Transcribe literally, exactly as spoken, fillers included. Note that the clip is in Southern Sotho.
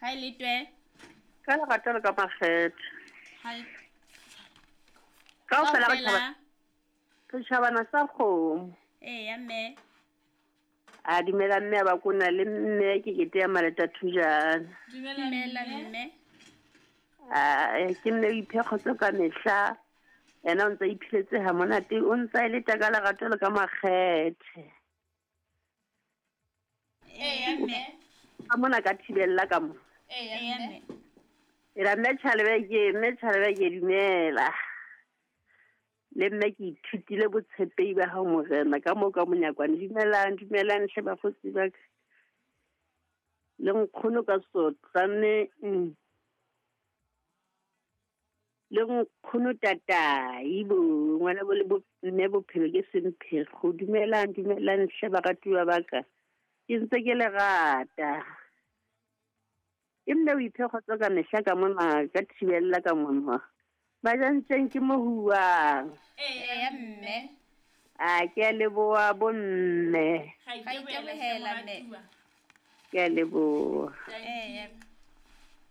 Ha e le twe. Ka lerato le ka makgethe. Ha Kaofela re tjhaba re tjhabana sa kgomo. Eya mme. A dumela mme a ba kona le mme ke kete ya Maleta Thujana. Dumela mme. A ke mme o iphe kgotso ka mehla. Yena o ntse a iphiletse ha monate, o ntse a e leta ka lerato le ka makgethe. Eya mme. Ka mona ka thibella ka mo. Eya mme. Ela mme Tjhalebe ke mme Tjhalebe ke dumela. Le mme ke ithutile botshepehi ba hao morena ka moo ka monyakwane. Dumelang, dumelang hle bakgotsi ba ka. Le nkgono ka sotlane. Le nkgono tatai bo ngwana bo le bo mme bophelo ke semphego. Dumelang, dumelang hle baratuwa ba ka. Ke ntse ke le rata. Ke mme o iphe kgotso ka mehla ka mona ka thibella ka mona. Majantjeng ke mo huwang. Eya mme. A ke a leboha bomme. Ga itebohela mme. Ke a leboha. Eya.